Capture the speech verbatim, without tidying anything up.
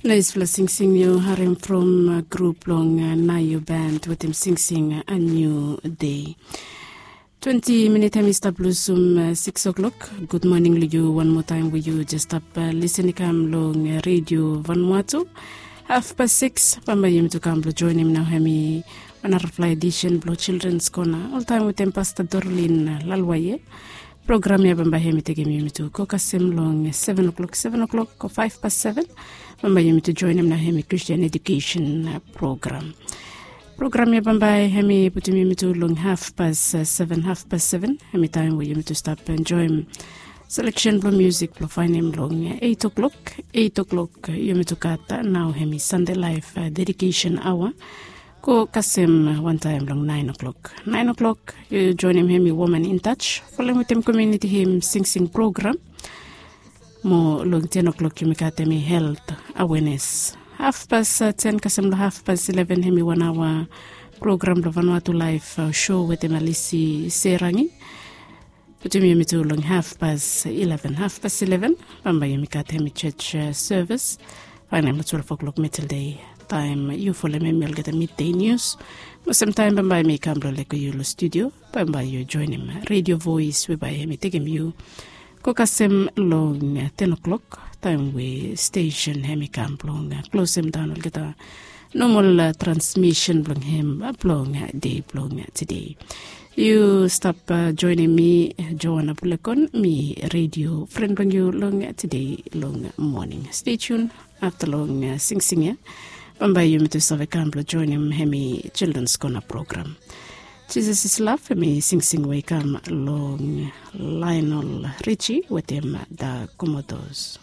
Naispela singsing yu harim from grup long Nayu Band wetem singsing A New Day. Twenti minit hem i stap lusum sikis oklok. Gud moning long yu wan moa taem we yu jes stap lisen i kam long Redio Vanuatu. Hafpas sikis bambae yumi tu kam blong joenem nao hem i wanarafala edisen blong Childrens Kona oltaem wetem Pasta Dorlin Lalwaye. Program ya bambae hem i tekem yumi tu go kasem long seven o'clock, seven o'clock o faef pas seven. Bambae yumi tu joenem nao hem i Christian Education Program. Program ya bambae hem i putum yumi tu long hafpas seven, hafpas seven hem i taem we yumi tu stap enjoem seleksen blong musik blong faenem long eit o'clock. Eit o'clock yumi tu gat nao hem i Sande Laef Dedikesen Aoa go kasem wantaem long naen o'clock. Naen o'clock yu joenem hem i Woman in Touch folem wetem komuniti him singsing program. Mo long ten o'clock yumi gat hem i helt awenes. Hafpas ten kasem long hafpas ileven hem i wan aoa program blong Vanuatu Laef Sho wetem Alisi Serangi. Putum yumi tu long hafpas ileven, hafpas ileven bambae yumi gat hem i church sevis. Faenem long twelve o'clock middle day taem yu folem hem i olgeta midday nius. Mo semtaem bambae mi kam blong lego yu long studio bambae yu joenem Redio Voes we bae hem i tekem yu go kasem long ten o'clock taem we stesen hem i kam blong klosem daon olgeta nomal transmisen blong hem blong dei blong tede. Yu stap joenem mi, Joana Bulekon, mi redio fren blong yu long tede long moning. Stay tune afta long singsing ya bambae yumi tu save kam blong joenem hem i Childrens Kona program. Jisas is Love hem i singsing we i kam long Lionel Richie wetem Da Komodos.